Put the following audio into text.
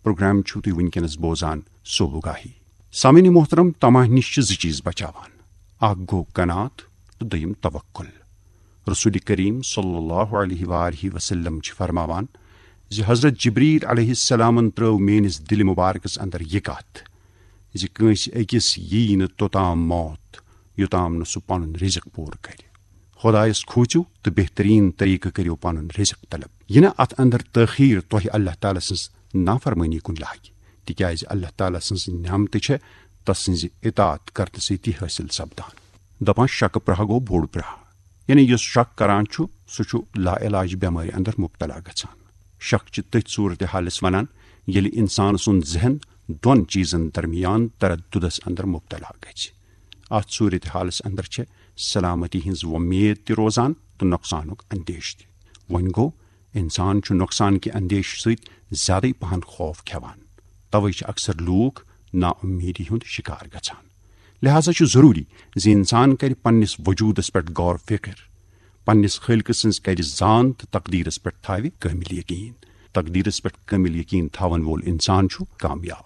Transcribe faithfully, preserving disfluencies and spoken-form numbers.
Programme چھِو تُہۍ وٕنکیٚنَس بوزان صوبہٕ گاہی۔ سامعین محترم، طمع نِش چھِ زٕ چیٖز بچاوان، اکھ گوٚو قناعت تہٕ دوٚیِم توکل۔ رسول کریم صلی اللہ علیہ وآلہ وسلم چھِ فرماوان زِ حضرت جبریل علیہ السلامن ترٲو میٲنِس دِلہِ مبارکس اندر یہِ کتھ زِ کٲنٛسہِ أکِس ییہِ نہٕ توٚتام موت، یوٚتام نہٕ سُہ پنُن رزق پوٗرٕ کرِ۔ خۄدایس کھوٗژِو تہٕ بہتریٖن طریٖقہٕ کٔرِو پنُن رزق طلب۔ یہِ نہٕ اتھ اندر تٲخیر تۄہہِ اللہ تعالیٰ سٕنٛز نافرمٲنی کُن لاگہِ، تِکیازِ اللہ تعالیٰ سٕنٛز نعمتہٕ چھےٚ تس سٕنٛزِ اطاعت کرنہٕ سۭتی حٲصِل سپدان۔ دپان، شکہٕ پرٛاہ گوٚو بوٚڑ پرٛاہ، یعنی یُس شک کران چھُ، سُہ چھُ لا علاج بٮ۪مٲرِ اندر مبتلا گژھان۔ شک چھِ تٔتھۍ صورتحالس ونان، ییٚلہِ انسان سُنٛد ذہن دۄن چیٖزن درمیان ترددس اندر مبتلا گژھِ۔ اتھ صورتحالس اندر چھےٚ سلامتی ہٕنٛز وۄمید تہِ روزان تہٕ نۄقصانُک اندیشہٕ تہِ۔ وۄنۍ گوٚو، انسان چھُ نۄقصان کہِ اندیشہٕ سۭتۍ زیادٕے پہن خوف کھٮ۪وان۔ توے چھِ اکثر لوٗکھ نا امیدی ہُنٛد شکار گژھان۔ لہذا چھُ ضروٗری زِ انسان کرِ پننِس وجوٗدس پٮ۪ٹھ غور فکر، پننِس خٲلقہٕ سٕنٛز کرِ زان تہٕ تقدیرس پٮ۪ٹھ تھاوِ کٲمل یقین۔ تقدیرس پٮ۪ٹھ کٲمل یقین تھاون وول انسان چھُ کامیاب۔